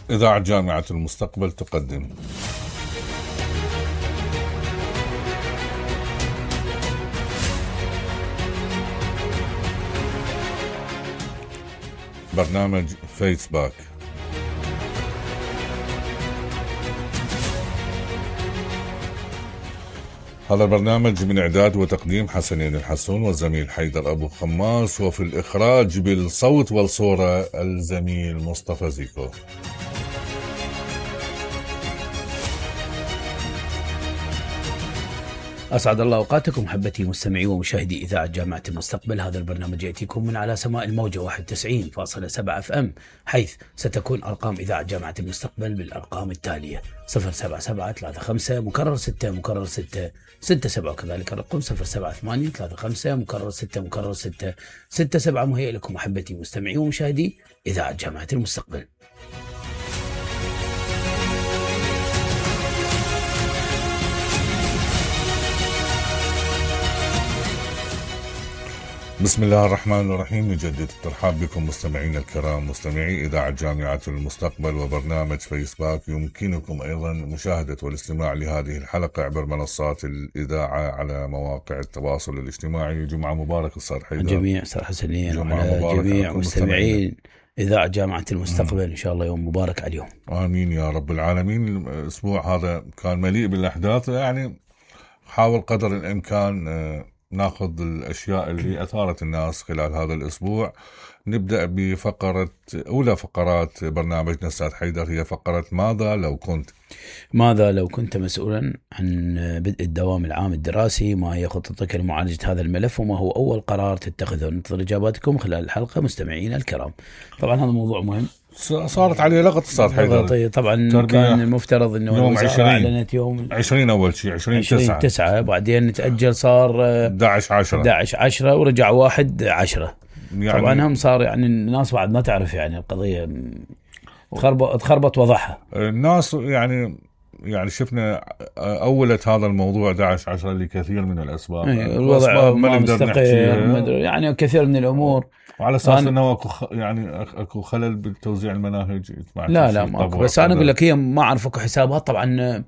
إذاعة جامعة المستقبل تقدم برنامج فيسباك. هذا البرنامج من إعداد وتقديم حسنين الحسون والزميل حيدر أبو خماس، وفي الإخراج بالصوت والصورة الزميل مصطفى زيكو. أسعد الله أوقاتكم محبتي مستمعي ومشاهدي إذاعة جامعة المستقبل. هذا البرنامج يأتيكم من على سماء الموجة 91.7 FM، حيث ستكون أرقام إذاعة جامعة المستقبل بالأرقام التالية: 07735 مكرر 6 مكرر 6 67، وكذلك الرقم 07835 مكرر 6 مكرر 6 67. مهيئ لكم محبتي مستمعي ومشاهدي إذاعة جامعة المستقبل. بسم الله الرحمن الرحيم. نجدد الترحاب بكم مستمعين الكرام، مستمعي إذاعة جامعة المستقبل وبرنامج فيسباك. يمكنكم أيضا مشاهدة والاستماع لهذه الحلقة عبر منصات الإذاعة على مواقع التواصل الاجتماعي. جمعة مبارك أستاذ حيدر. جميع أستاذ حسنين وعلى جميع مستمعين إذاعة جامعة المستقبل. إن شاء الله يوم مبارك عليهم. آمين يا رب العالمين. الأسبوع هذا كان مليء بالأحداث، يعني حاول قدر الإمكان ناخذ الأشياء اللي أثارت الناس خلال هذا الأسبوع. نبدأ بفقرة أولى فقرات برنامجنا أستاذ حيدر، هي فقرة ماذا لو كنت مسؤولا عن بدء الدوام العام الدراسي؟ ما هي خطتك لمعالجة هذا الملف، وما هو أول قرار تتخذه؟ ننتظر إجاباتكم خلال الحلقة مستمعينا الكرام. طبعا هذا موضوع مهم، صارت عليه لغط أستاذ حيدر. طبعا كان المفترض انه يوم 20 اعلنت يوم 20 اول شيء 20/9، بعدين تأجل صار 11/10 ورجع 1/10. يعني طبعا هم صار يعني الناس بعد ما تعرف يعني القضية تخربط وضعها الناس. يعني شفنا أولت هذا الموضوع 11/10 لكثير من الأسباب. الوضع ما مستقر، يعني كثير من الأمور، وعلى أساس أنه أكو خلل بتوزيع المناهج. لا ماكو، بس أنا أقول لك هي ما أعرف أكو حسابات. طبعا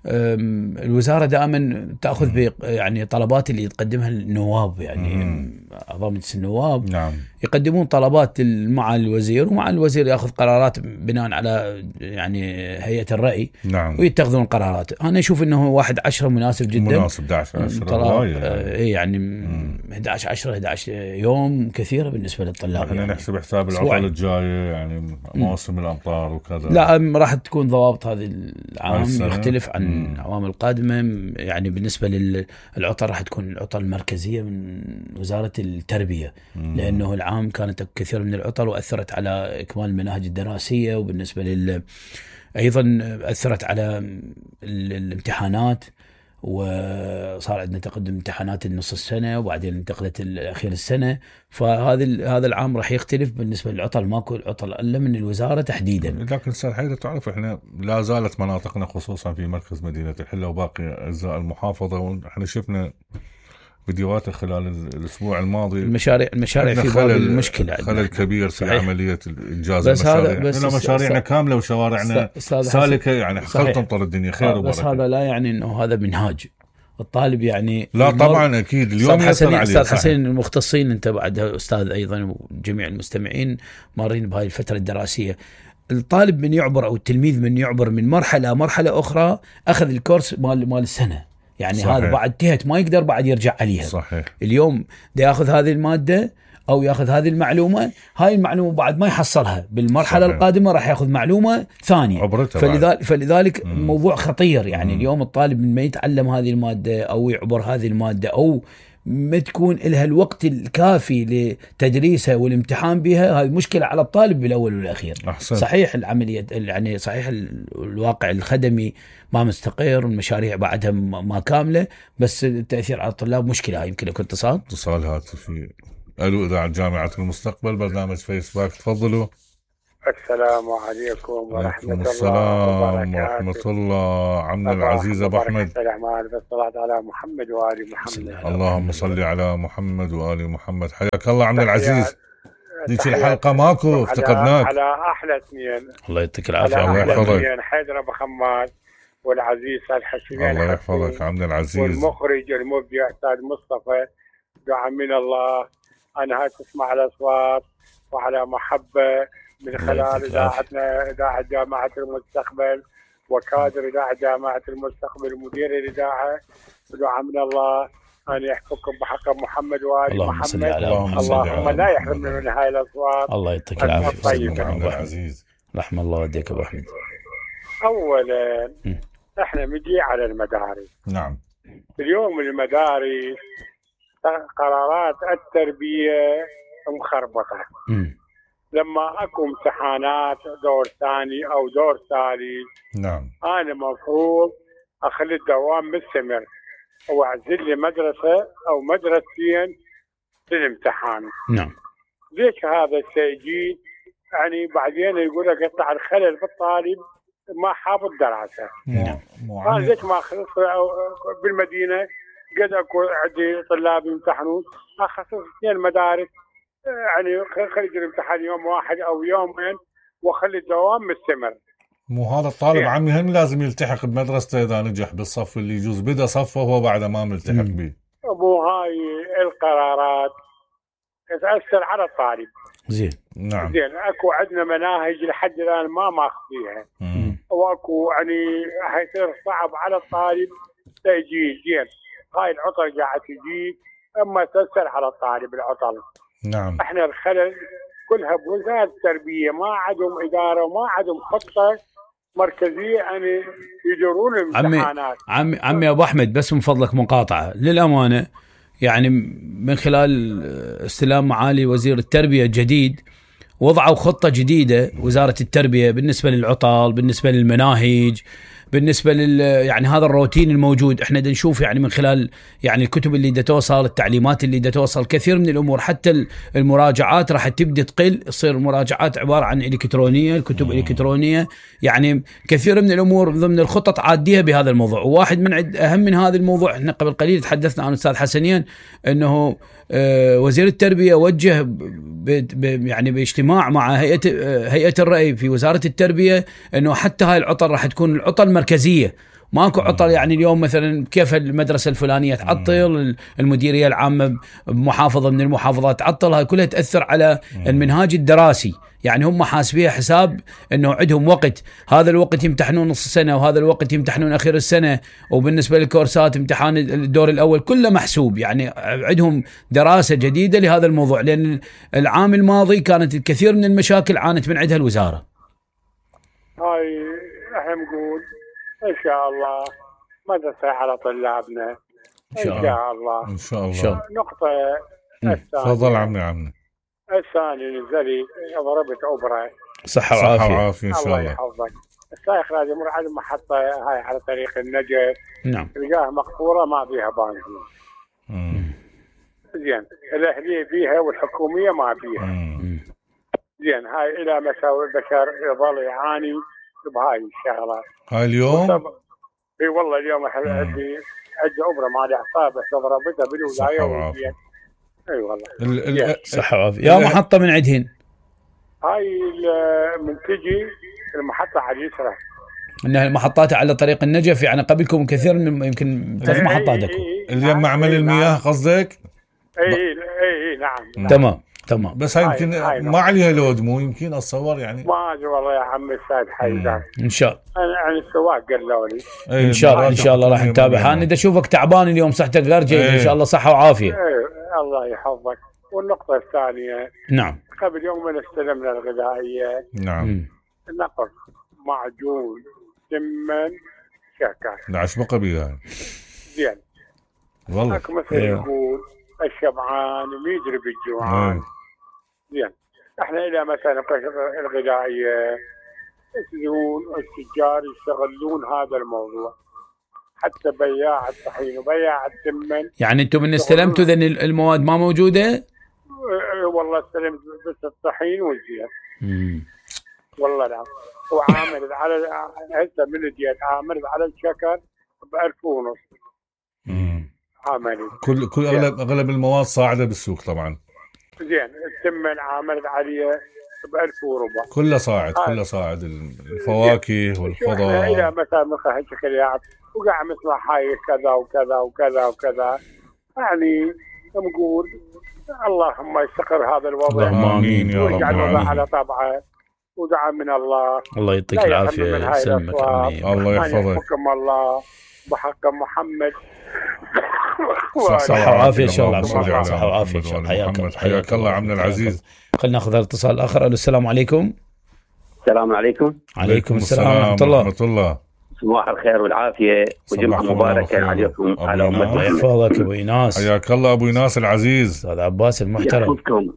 الوزارة دائما تأخذ يعني طلبات اللي تقدمها النواب، يعني أعضاء مجلس النواب. نعم. يقدمون طلبات مع الوزير، ومع الوزير يأخذ قرارات بناء على يعني هيئة الرأي. نعم. ويتخذون قرارات. أنا أشوف أنه 1/10 مناسب جدا. مناسب 11/10 يعني 11 يوم كثيرة بالنسبة للطلاب. احنا يعني نحسب حساب العطل الجاية، يعني موسم الأمطار وكذا. لا، راح تكون ضوابط هذه العام يختلف عن الأعوام القادمة. يعني بالنسبة للعطل راح تكون العطل المركزية من وزارة التربية، لأنه العام كانت كثير من العطل وأثرت على إكمال المناهج الدراسية، وبالنسبة أيضا أثرت على الامتحانات، وصار عندنا تقدم امتحانات النص السنة وبعدين انتقلت الأخير السنة. هذا العام راح يختلف بالنسبة للعطل. ماكو العطل إلا من الوزارة تحديدا. لكن أستاذ حيدر تعرف احنا لا زالت مناطقنا خصوصا في مركز مدينة الحلة وباقي أجزاء المحافظة، واحنا شفنا فيديوهات خلال الأسبوع الماضي. المشاريع في باب المشكلة، خلل كبير في عملية إنجاز المشاريع. مشاريعنا كاملة وشوارعنا سالكة، يعني خل تمطر الدنيا خير وبركة. بس هذا لا يعني إنه هذا منهاج الطالب. يعني لا طبعا أكيد اليوم يسر عليه. أستاذ حسين المختصين أنت بعد أستاذ أيضا، وجميع المستمعين مارين بهاي الفترة الدراسية. الطالب من يعبر أو التلميذ من يعبر من مرحلة أخرى، أخذ الكورس مال السنة، يعني صحيح. هذا بعد تهت ما يقدر بعد يرجع عليها. صحيح. اليوم ده ياخذ هذه المادة أو ياخذ هذه المعلومة، هاي المعلومة بعد ما يحصلها بالمرحلة صحيح. القادمة راح ياخذ معلومة ثانية. فلذلك موضوع خطير. يعني اليوم الطالب من ما يتعلم هذه المادة أو يعبر هذه المادة أو ما تكون لها الوقت الكافي لتدريسها والامتحان بها، هذه مشكلة على الطالب بالأول والأخير. أحسن. صحيح العملية، يعني صحيح الواقع الخدمي ما مستقر والمشاريع بعدها ما كاملة، بس التأثير على الطلاب مشكلة. يمكن لكم اتصال هاتفي. ألو إذاعة جامعة المستقبل برنامج فيسباك، تفضلوا. السلام عليكم ورحمة الله السلام ورحمة الله. عمنا العزيز أبو أحمد، بالصلاة على محمد وآل محمد. اللهم صل على محمد وآل محمد. حياك الله عمنا العزيز. ذيك الحلقة ماكو افتقدناك. على أحلى اثنين. الله يعطيك العافية. الله يحفظك. حيدر أبو خماد والعزيز الحسين. الله يحفظك عبد العزيز. والمخرج المبدع أستاذ مصطفى. دعاء من الله. أنا هاي تسمع الأصوات وعلى محبة من خلال إذاعتنا، إذاعة جامعة المستقبل وكادر إذاعة جامعة المستقبل ومدير الإذاعة. دعاء من الله أن يحفظكم بحق محمد وآل محمد. اللهم لا يحرمنا من هاي الأصوات. الله يعطيك العافية. عبد العزيز. رحم الله والديك أبو أحمد. أولا احنا نجي على المدارس. نعم. اليوم المدارس قرارات التربية مخربطة. لما اكو امتحانات دور ثاني او دور ثالث، نعم، انا مفروض اخلي الدوام مستمر واعزل لي مدرسة او مدرستين للامتحان. نعم. ليش هذا الشيء؟ يعني بعدين يقول لك يطلع الخلل بالطالب ما حافظ دراسة. نعم. ليش ما خلص بالمدينة قد اكو عندي طلاب يمتحنون اخصص 2 مدارس، يعني خلي الامتحان يوم واحد او يومين وخلي الدوام مستمر. مو هذا الطالب يعني عمي هم لازم يلتحق بمدرسته اذا نجح بالصف اللي يجوز بدا صفه وهو بعد ما ملتحق به. مو هاي القرارات تأثر على الطالب. زين. نعم. زين اكو عندنا مناهج لحد الان ما ماخذيها، واكو يعني حيصير صعب على الطالب تأجيل. زين هاي العطل قاعد تجي اما تأثر على الطالب العطل. نعم. احنا الخلل كلها بوزارة التربية، ما عندهم إدارة وما عندهم خطة مركزية يعني يديرون الامتحانات. عمي أبو أحمد، بس من فضلك مقاطعة للأمانة، يعني من خلال استلام معالي وزير التربية الجديد وضعوا خطة جديدة وزارة التربية بالنسبة للعطل، بالنسبة للمناهج، بالنسبة يعني هذا الروتين الموجود. احنا نشوف يعني من خلال يعني الكتب اللي توصل، التعليمات اللي توصل، كثير من الامور حتى المراجعات راح تبدأ تقل، تصير المراجعات عبارة عن الكترونية، الكتب الكترونية، يعني كثير من الامور ضمن الخطط عادية بهذا الموضوع. وواحد من اهم من هذا الموضوع، احنا قبل قليل تحدثنا عن الاستاذ حسنين انه وزير التربية وجه يعني باجتماع مع هيئة الرأي في وزارة التربية انه حتى هاي العطل راح تكون العطل مركزية، ماكو عطل يعني اليوم مثلا كيف المدرسة الفلانية تعطل، المديرية العامة بمحافظة من المحافظات تعطل، هاي كلها تأثر على المنهاج الدراسي. يعني هم حاسبيها حساب انه عندهم وقت، هذا الوقت يمتحنون نص سنة وهذا الوقت يمتحنون اخر السنة، وبالنسبة للكورسات امتحان الدور الاول كله محسوب. يعني عندهم دراسة جديدة لهذا الموضوع، لان العام الماضي كانت الكثير من المشاكل عانت من عندها الوزارة. هاي احنا نقول ان شاء الله مدرسة على طلابنا ان شاء الله. ان شاء الله. نقطة الثانية، تفضل عمي. الثاني نزلي ضربت أوبرا صحة وعافية إن شاء الله. الله يحفظك. السائق لازم يمر على المحطة هاي على طريق النجف. نعم. تلقاها مقفولة ما فيها بنزين. زين الأهلية فيها والحكومية ما فيها. زين هاي إلى مساوي البشر يظل يعاني بهاي الشغلات. هاي اليوم؟ اي والله اليوم عندي أوبرا مالي أعصاب ضربتها بالولاية. اي والله. صحة وعافية. يا محطة من عندهن هاي من تجي المحطة على اليسرى، انها المحطات على طريق النجف، يعني قبلكم كثير من يمكن 3 محطات اكو اللي معمل المياه قصدك؟ اي نعم. تمام. بس هاي يمكن ما عليها لود، مو يمكن اتصور يعني. ما ادري والله يا عمي السيد حيدر. ان شاء الله. انا السواق قالوا لي ان شاء الله راح نتابع. انا اذا اشوفك تعبان اليوم صحتك غير جيده ان شاء الله، صحه وعافيه. الله يحفظك. والنقطه الثانيه، نعم، قبل يومين استلمنا الغذائيه. نعم. نقص معجون سمن شكر. عشبقه بيها. زين والله مثل يقول الشبعان ويدري بالجوعان. زين احنا الى مثلا الغذائيه يسلون التجار يشتغلون هذا الموضوع، حتى بياع الطحين وبياع السمن. يعني انتم من استلمتوا ذن المواد ما موجوده؟ والله استلمت بس الطحين والزيت. والله نعم. وعامل على هسه من الزيت عامل على الشكر ب1500 عامل. كل اغلب المواد صاعده بالسوق طبعا. زين التمن عاملت عليه ب1000 وربع كله صاعد الفواكه والخضار. الى مثلا من هالشكليات وقاعد نسمع هاي كذا وكذا وكذا وكذا، يعني نقول اللهم يستقر هذا الوضع. اللهم امين يا رب العالمين. على طبعه ودعاء من الله يعطيك العافيه يسلمك عمي. الله يحفظك. حكم الله بحق محمد. صحة وعافية إن شاء الله. صحة وعافية إن شاء الله. حياك الله عمنا العزيز. خلينا ناخذ الاتصال الآخر. السلام عليكم. السلام عليكم. عليكم السلام ورحمة الله. صباح الخير والعافية وجمعة مباركة عليكم على أمة. يحفظك أبو إيناس. حياك الله أبو إيناس العزيز. أستاذ عباس المحترم. يحفظكم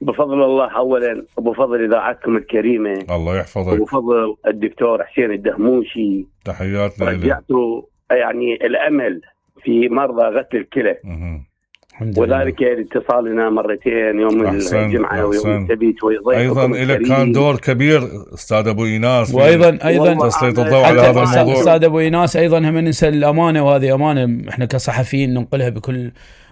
بفضل الله أولا وبفضل إذاعتكم الكريمة. الله يحفظك. وبفضل الدكتور حسين الدهموشي. تحياتنا. رجعتوا يعني الأمل في مرضى غسل الكلى. وذلك اتصالنا مرتين يوم الجمعة ويوم السبت أيضا لك كان دور كبير أستاذ أبو إيناس. وأيضا تسليط الضوء على هذا الموضوع. أستاذ أبو إيناس أيضا هم ننسى الأمانة، وهذه أمانة إحنا كصحفيين ننقلها بكل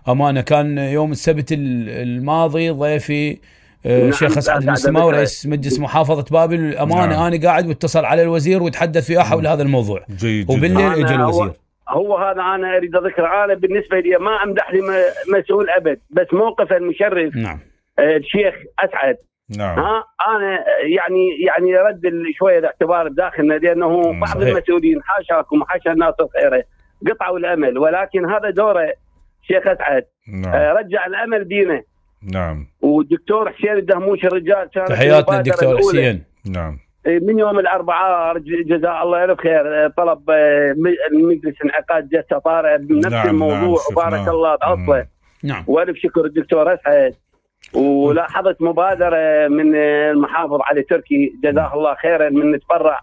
أمانة. كان يوم السبت الماضي ضيفي الشيخ أسعد المسلماوي رئيس مجلس محافظة بابل. الأمانة أنا قاعد واتصل على الوزير وتحدث فيها حول هذا الموضوع. جيد. وبالليل اجى الوزير. هو هذا أنا أريد أذكر. أنا بالنسبة لي ما أمدح لي مسؤول أبد، بس موقف المشرف. نعم. الشيخ أسعد. نعم. أنا يعني رد شوية الاعتبار بداخلنا، لأنه بعض المسؤولين حاشاكم وحاشا الناس الخيرة قطعوا الأمل، ولكن هذا دوره الشيخ أسعد. نعم. رجع الأمل بينا. نعم. والدكتور حسين الدهموشي الرجال تحياتنا الدكتور حسين. نعم. من يوم الأربعاء جزاه الله ألف خير طلب المجلس انعقاد جلسة طارئة بنفس الموضوع. وبارك الله بعطله. نعم. وألف شكر الدكتور أسعد. ولاحظت مبادرة من المحافظ علي تركي جزاه الله خيرا من نتبرع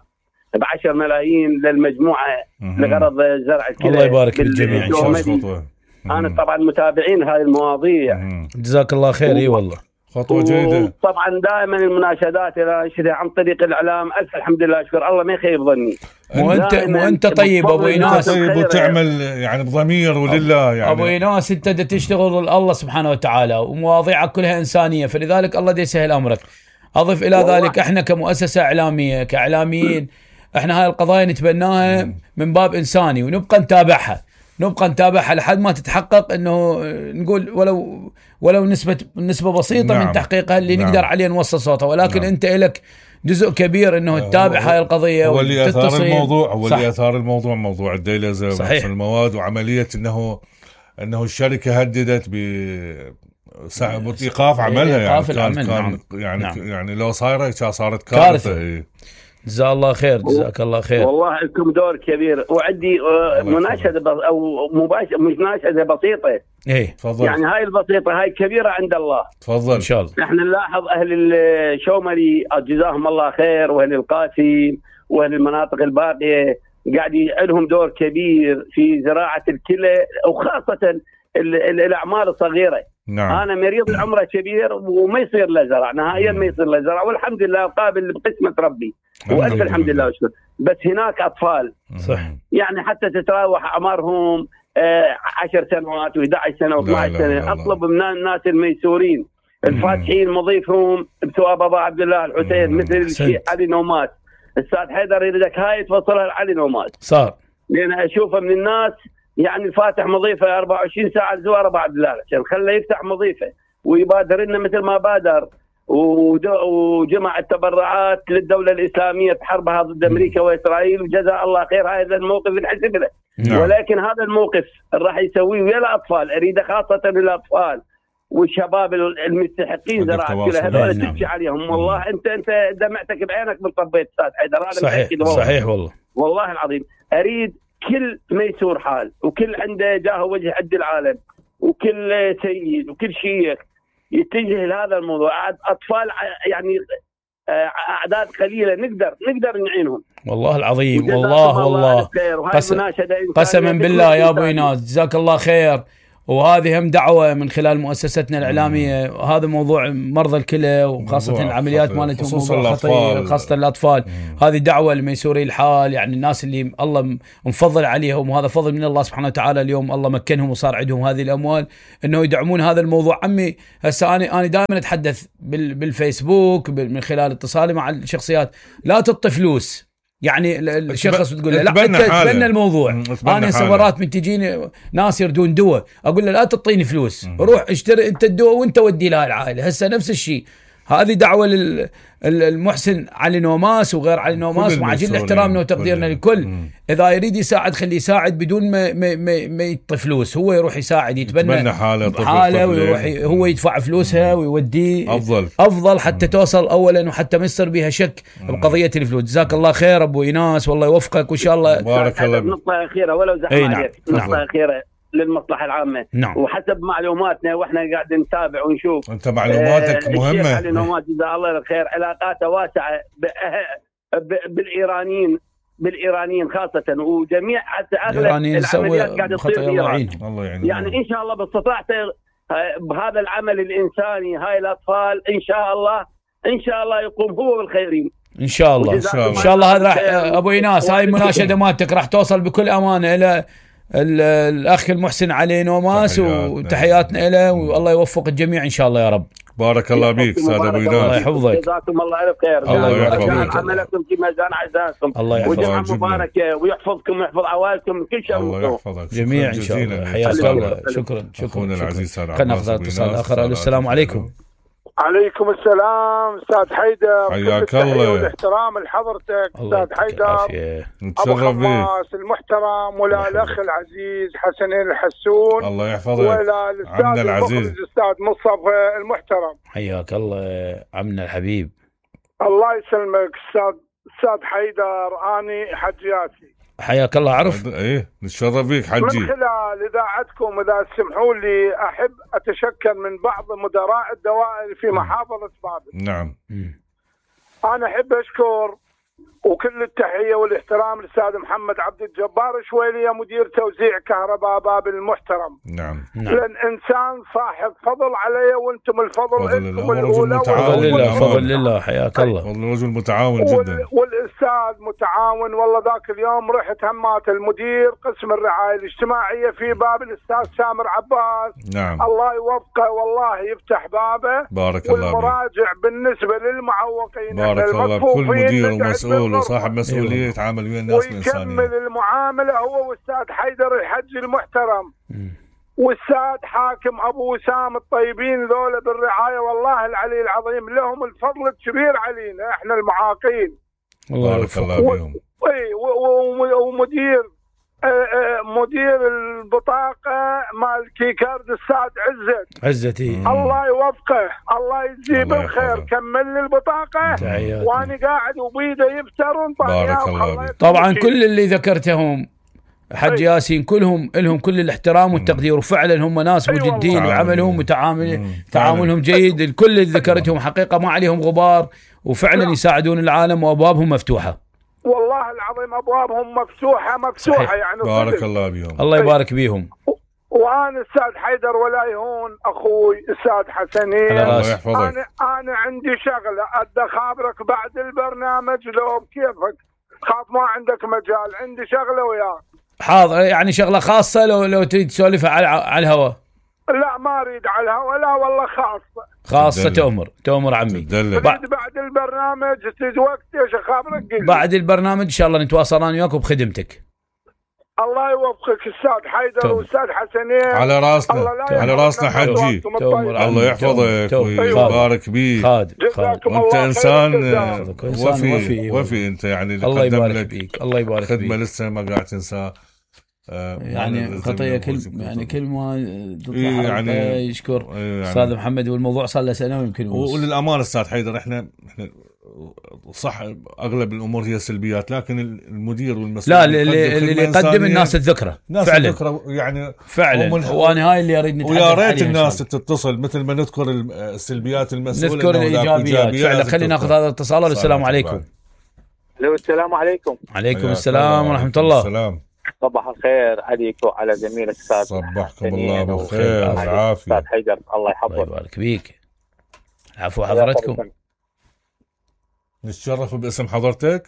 ب10 ملايين للمجموعة لغرض زرع الكلى. الله يبارك بالجميع إن شاء الله. أنا طبعا متابعين هاي المواضيع. جزاك الله خير. اي والله خطوة جيدة. طبعا دائما المناشدات اللي انشدها عن طريق الاعلام الف الحمد لله اشكر الله ما يخيب ظني. وانت طيب ابو ايناس. طيب وتعمل يعني بضمير ولله يعني. ابو ايناس انت تشتغل الله سبحانه وتعالى ومواضيعك كلها انسانيه، فلذلك الله يسهل امرك. اضف الى ذلك احنا كمؤسسه اعلاميه كاعلاميين احنا هاي القضايا نتبناها من باب انساني، ونبقى نتابعها لحد ما تتحقق انه نقول ولو نسبة بسيطة. نعم. من تحقيقها اللي نعم. نقدر عليه نوصل صوتها، ولكن نعم. انت لك جزء كبير انه تتابع هاي القضية. هو اللي اثار الموضوع موضوع الديلزة وحصر المواد، وعملية انه الشركة هددت بإيقاف عملها. يعني لو صارت كارثة. جزاك الله خير. جزاك الله خير. والله لكم دور كبير. وعندي مناشدة أو مناشدة بسيطة. إيه تفضل. يعني هاي البسيطة هاي كبيرة عند الله. تفضل. إن شاء الله. نحن نلاحظ أهل الشومري جزاهم الله خير، وأهل القاسم وأهل المناطق الباقية قاعد لهم دور كبير في زراعة الكلى، وخاصة الأعمال الصغيرة. نعم. أنا مريض العمر كبير وما يصير له زرع نهائيا، ما يصير له زرع، والحمد لله قابل بقسمة ربي وألف الحمد لله وشكر. بس هناك أطفال صح يعني حتى تتراوح أعمارهم 10 سنوات و11 سنة و12 سنة. أطلب من الناس الميسورين الفاتحين مضيفهم بثواب أبا عبد الله الحسين مثل الشيخ علي نومات. الأستاذ حيدر يريدك هاي توصلها لعلي نومات صار، لأن أشوفه من الناس يعني الفاتح مضيفه 24 ساعة لزوار أبا عبد الله عشان خله يفتح مضيفه ويبادر لنا مثل ما بادر وجمع التبرعات للدولة الإسلامية بحربها ضد أمريكا وإسرائيل، وجزاء الله خير هذا الموقف الحسب له. نعم. ولكن هذا الموقف راح يسويه ويا الأطفال، أريده خاصة للأطفال والشباب المستحقين زراعة كلها هذول تبكي عليهم. والله أنت دمعتك بعينك بالطبيت أستاذ حيدر. صحيح والله العظيم أريد كل ميسور حال وكل عنده جاه وجه عد العالم وكل سيد وكل شيخ يتجه لهذا الموضوع. أطفال يعني أعداد قليلة نقدر نعينهم. والله العظيم والله قسما بالله يا أبو إيناس جزاك الله خير. وهذه هم دعوة من خلال مؤسستنا الإعلامية. هذا موضوع مرضى الكلى وخاصة العمليات مالتهم موضوع خطير خاصة الأطفال. هذه دعوة لميسوري الحال، يعني الناس اللي الله مفضل عليهم، وهذا فضل من الله سبحانه وتعالى. اليوم الله مكنهم وصار عندهم هذه الأموال إنه يدعمون هذا الموضوع. عمي هسه أنا دائما أتحدث بالفيسبوك من خلال اتصالي مع الشخصيات، لا تعطي فلوس. يعني الشخص تقول له لا انت تبنى الموضوع. انا مرات من تجيني ناس يردون دواء، اقول له لا تعطيني فلوس، روح اشتري انت الدواء وانت ودي لها العائله. هسه نفس الشيء، هذه دعوه المحسن علي نوماس وغير علي نوماس، مع جل احترامنا وتقديرنا للكل. اذا يريد يساعد خليه يساعد بدون ما يعطي فلوس، هو يروح يساعد يتبنى حاله ويروح هو يدفع فلوسها ويوديه افضل حتى توصل اولا، وحتى ما يصير بها شك بقضيه الفلوس. جزاك الله خير ابو ايناس، والله يوفقك وان شاء الله. بارك الله. نقطه اخيره ولو زحمه عليك، نقطه اخيره للمصلحة العامة. وحسب معلوماتنا واحنا قاعدين نتابع ونشوف، انت معلوماتك مهمة. علي نوماس جزاه الله الخير علاقاته واسعة بالإيرانيين خاصة، وجميع حتى أغلب العمليات قاعدة تصير بإيران. يعني إن شاء الله باستطاعته بهذا العمل الإنساني هاي الأطفال إن شاء الله يقوم هو بالخيرين إن شاء الله. إن شاء الله. هذا راح أبو إيناس، هاي المناشدة مالتك راح توصل بكل أمانة إلى الأخ المحسن علي نوماس، وتحياتنا له، والله يوفق الجميع إن شاء الله يا رب. بارك الله بيك استاذ ابو ايناس، الله يحفظك. جزاكم الله الف خير. الله يحفظك. عملكم في ميزان عزائكم، الله يحفظك. وجمعة مباركة ويحفظكم ويحفظ عوائلكم من كل شر. الله يحفظك جميع ان شاء الله. حياك الله. شكرا. اخونا العزيز. خلينا ناخذ اتصال اخر. السلام عليكم. عليكم السلام استاذ حيدر، حياك الله والاحترام لحضرتك استاذ حيدر، ابو حماس المحترم، ولا الاخ العزيز حسنين الحسون، الله يحفظك، ولا الاستاذ العزيز الاستاذ مصطفى المحترم. حياك الله عمنا الحبيب. الله يسلمك استاذ حيدر. اني حج ياسي. حياك الله. عرف ايه نتشرف بيك حجي. من خلال اذاعتكم اذا تسمحوا لي احب اتشكر من بعض مدراء الدوائر في محافظه بابل. نعم. انا احب اشكر وكل التحيه والاحترام للاستاذ محمد عبد الجبار شويليه مدير توزيع كهرباء بابل المحترم. نعم. لان انسان صاحب فضل علي، وانتم الفضل انتم الاولى. فضل لله. حياك الله. والله رجل متعاون جدا، والاستاذ متعاون. والله ذاك اليوم رحت همات المدير قسم الرعايه الاجتماعيه في بابل الاستاذ سامر عباس. نعم. الله يوفقه والله يفتح بابه. بارك الله بك. والمراجع بالنسبه للمعوقين، بارك الله بكل مدير ومسؤول وصاحب مسؤوليه يتعامل ويا الناس الانسانيه، ويكمل المعامله هو واستاذ حيدر الحج المحترم واستاذ حاكم ابو وسام الطيبين ذولا بالرعايه. والله العلي العظيم لهم الفضل الكبير علينا احنا المعاقين. بارك الله بهم. ومدير مدير البطاقه مال كيكارد الاستاذ عزتي. الله يوفقه، الله يجزيه بالخير. كمل لي البطاقه وانا قاعد وبيده يفتر بارك الله. طبعا كل اللي ذكرتهم حج ياسين كلهم لهم كل الاحترام والتقدير، وفعلا هم ناس مجدين وعملهم تعاملهم جيد. الكل اللي ذكرتهم حقيقه ما عليهم غبار، وفعلا يساعدون العالم وابوابهم مفتوحه. والله العظيم ابوابهم مفتوحه صحيح. يعني بارك الله بهم. الله يبارك بيهم. وانا استاذ حيدر ولا يهون اخوي استاذ حسنين، الله يحفظك. انا عندي شغله ادى خابرك بعد البرنامج لو بكيفك، خاف ما عندك مجال، عندي شغله وياك. حاضر. يعني شغله خاصه لو تريد تسولفها على الهواء؟ لا ما اريد على الهواء، لا والله خاصه. تؤمر عمي. بعد البرنامج تريد وقت ايش خابرك؟ بعد البرنامج ان شاء الله نتواصل انا وياك بخدمتك. الله يوفقك استاذ حيدر واستاذ حسنين. على راسنا حجي. الله يحفظك ويبارك بيك. وانت انسان وفي انت يعني الله يبارك بيك. الله يبارك فيك. خدمه لسه ما قاعد تنساه. يعني خطيه كل ما تطلع يعني يشكر استاذ محمد، والموضوع صار له سنه ويمكن. وللامانه استاذ حيدر احنا صح اغلب الامور هي سلبيات، لكن المدير والمسؤول لا اللي يقدم الناس الذكرى فعلا يعني فعلا. وانا هاي اللي اريد نتحدث ويا ريت الناس تتصل مثل ما نذكر السلبيات المسؤول نذكر الايجابيات فعلا. خلينا ناخذ هذا الاتصال. السلام عليكم. السلام عليكم. عليكم السلام ورحمه الله. السلام. صباح الخير عليك وعلى زميلك استاذ. صبحكم الله بالخير والعافيه استاذ حيدر، الله يحفظك. الله يبارك بيك. العفو حضرتكم. نتشرف باسم حضرتك.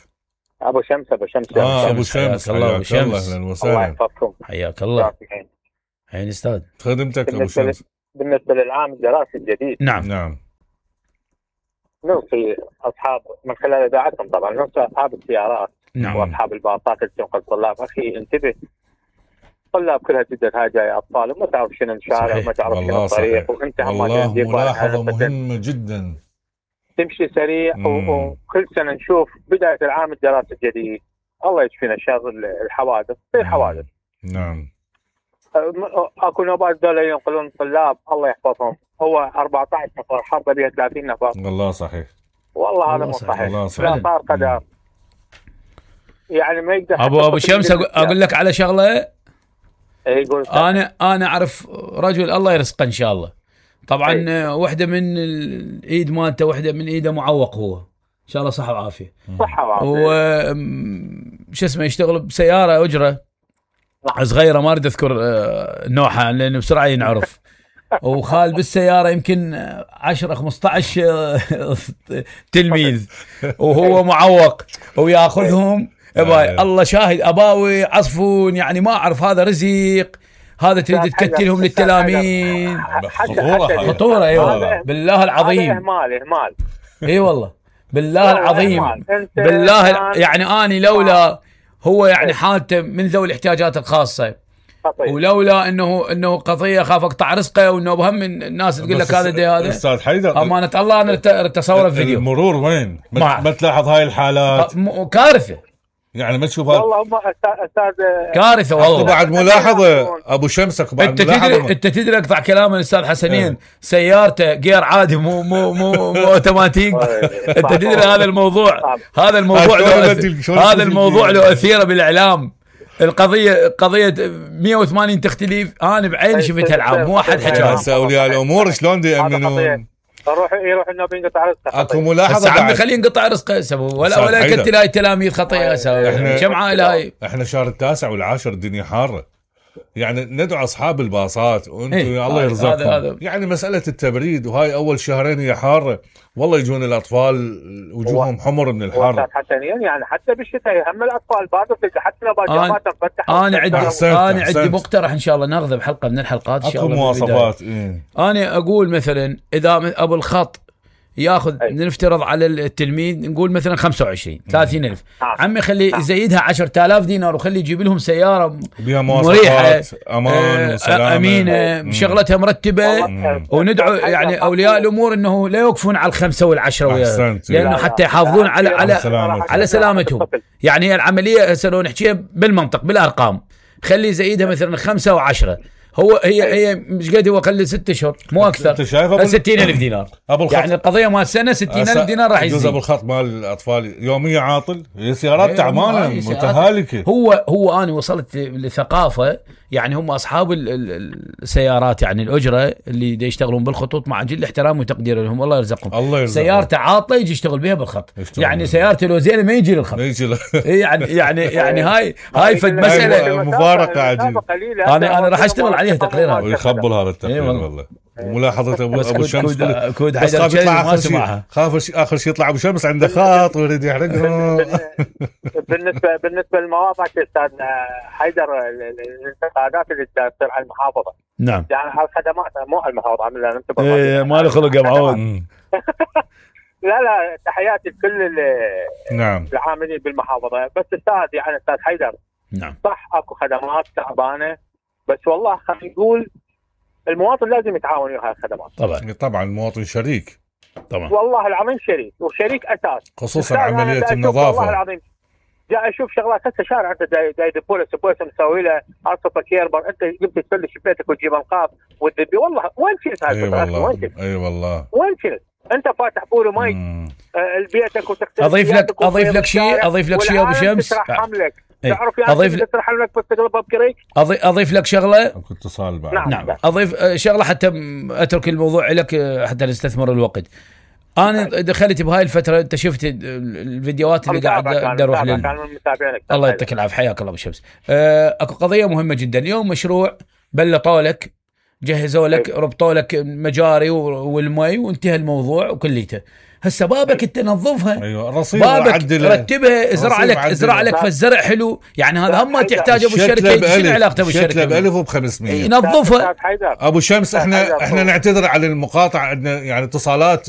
ابو شمس. ابو شمس، الله ابو شمس. اهلا الله وسهلا. يحفظكم. حياك الله. عين استاذ. خدمتك ابو شمس. بالنسبه للعام الدراسي الجديد، نعم نوصي اصحاب من خلال اذاعتهم طبعا، نوصي اصحاب السيارات نعم واصحاب الباصات اللي تنقل الطلاب، اخي انتبه، الطلاب كلها جدد هاي جاي اطفال وما تعرف شنو الشارع صحيح. وما تعرف شنو والله الطريق، صحيح. وانت هم والله ملاحظه مهمه جدا. تمشي سريع وكل سنه نشوف بدايه العام الدراسي الجديد الله يشفينا شر الحوادث، تصير حوادث. نعم. اكو نوبات دول ينقلون طلاب الله يحفظهم، هو 14 نفر حرقه بها 30 نفر. والله صحيح. والله هذا مو صحيح. والله صحيح. لا صار قدر. يعني ما يقدر ابو شمس اقول لك على شغله. يقول انا اعرف رجل الله يرزقه ان شاء الله. طبعا واحده من الايد مالته، واحده من ايده معوق، هو ان شاء الله صحه وعافيه. صحه وعافيه. شو اسمه، يشتغل بسياره اجره صغيره، ما اريد اذكر نوعها لان بسرعه ينعرف. وخال بالسياره يمكن 10-15 تلميذ، وهو معوق وياخذهم. الله شاهد، اباوي عصفون، يعني ما اعرف هذا رزق، هذا تريد تكتلهم للتلاميذ. خطوره اي والله بالله العظيم. اهمال اي والله بالله العظيم. بالله يعني اني لولا هو يعني حالته من ذوي الاحتياجات الخاصه، ولولا انه قضيه خاف اقطع رزقه، وانه بهم الناس تقول لك هذا استاذ حيدر امانه الله انا تصور الفيديو. المرور وين؟ ما تلاحظ هاي الحالات؟ كارثه يعني ما تشوف هذا؟ والله هم استاذ كارثه والله. بعد ملاحظه ابو شمسك بعد انت تدري اقطع كلام الاستاذ حسنين، سيارته غير عادي، مو اوتوماتيك. انت تدري هذا الموضوع هذا الموضوع له اثيره بالاعلام. قضيه 180 تختلف. انا بعيني شفتها العام، مو واحد حكى. اولياء الامور شلون دي يامنون؟ يروح النبي ينقطع رزقه. اكو ملاحظه عمي خليه ينقطع رزقه ولا يكتل هاي التلاميذ خطيه. كم عائله هاي؟ احنا شهر 9 والعاشر الدنيا حاره، يعني ندعو اصحاب الباصات وانتم يا الله يرزقكم. يعني مساله التبريد، وهاي اول شهرين هي حاره، والله يجون الاطفال وجوههم حمر من الحر. حسنين يعني حتى بالشتاء هم الاطفال بعضهم حتى لو باجامات مفتحه. انا عندي مقترح ان شاء الله ناخذه بحلقه من الحلقات ان شاء الله. اكو مواصفات. انا اقول مثلا اذا ابو الخط ياخذ، نفترض على التلميذ نقول مثلا 25-30 ألف، عمي خلي يزيدها 10,000 دينار، وخلي يجيب لهم سياره مريحه امان وسلامه امينه، شغلتها مرتبه. وندعو يعني اولياء الامور انه لا يوقفون على ال5 وال10 وياه، لانه حتى يحافظون على سلامتهم. يعني العمليه هسه لو نحكيها بالمنطق بالارقام، خلي يزيدها مثلا 5 و10. هي مش قد هو خلي 6 اشهر مو اكثر. 60,000 دينار يعني القضيه مال سنه 60,000 دينار راح يزيد. ابو الخط مال الاطفال يوميه عاطل، سيارات تعبانه متهالكه. هو انا وصلت لثقافه، يعني هم اصحاب السيارات يعني الاجره اللي يشتغلون بالخطوط، مع جل احترام وتقدير لهم الله يرزقهم. سيارته عاطله يجي يشتغل بها بالخط، يعني سيارته لو زينه ما يجي للخط. يعني هاي فد مساله مفارقه عجيبه. انا راح اشتغل عليها تقريرها ويخبل هذا التقرير والله. وملاحظه ابو شمس كود حيدر ما سمعها، خاف اخر شيء يطلع ابو شمس عنده خاط ويريد يحرقه. بالنسبه للمواضع استاذ حيدر، الانتقادات اللي تصير على المحافظه. نعم يعني على الخدمات مو على المحافظه، عملنا ما له خلق يا معود. لا تحياتي لكل نعم العاملين بالمحافظه. بس استاذ يعني استاذ حيدر، نعم صح اكو خدمات تعبانه، بس والله خلينا نقول المواطن لازم يتعاون ويا هاي الخدمات. طبعا المواطن شريك طبعا، والله العظيم شريك وشريك اساس، خصوصا عمليه النظافه. والله العظيم جاي اشوف شغلات هسه شارع انت جاي بوليس مسوي له عصفه كيربر، انت جبت تفلش بيتك وتجيب انقاض وتذبي. والله وين شلت هاي الفتره؟ اي والله وين شلت؟ انت فاتح بول ومي بيتك وتغسل. اضيف لك شيء ابو شمس. تعرف يعني تسرح لك بس تقلبها بكريك. اضيف لك شغله. اكو اتصال بعد. نعم اضيف شغله حتى اترك الموضوع لك حتى نستثمر الوقت. انا دخلت بهاي الفتره، انت شفت الفيديوهات اللي قاعد اروح الله يعطيك العافيه، حياك الله ابو شمس. اكو قضيه مهمه جدا اليوم، مشروع بلطوا لك، جهزوا لك، ربطوا لك مجاري والمي وانتهى الموضوع وكليته. هسه بابك انت نظفها، ايوه رصيد بابك رتبها، ازرع لك فالزرع حلو، يعني هذا هم ما تحتاج ابو الشركه. شنو علاقته ابو الشركه؟ شتله ب1000 وب500 ينظفها. ابو شمس احنا نعتذر على المقاطعه، عندنا يعني اتصالات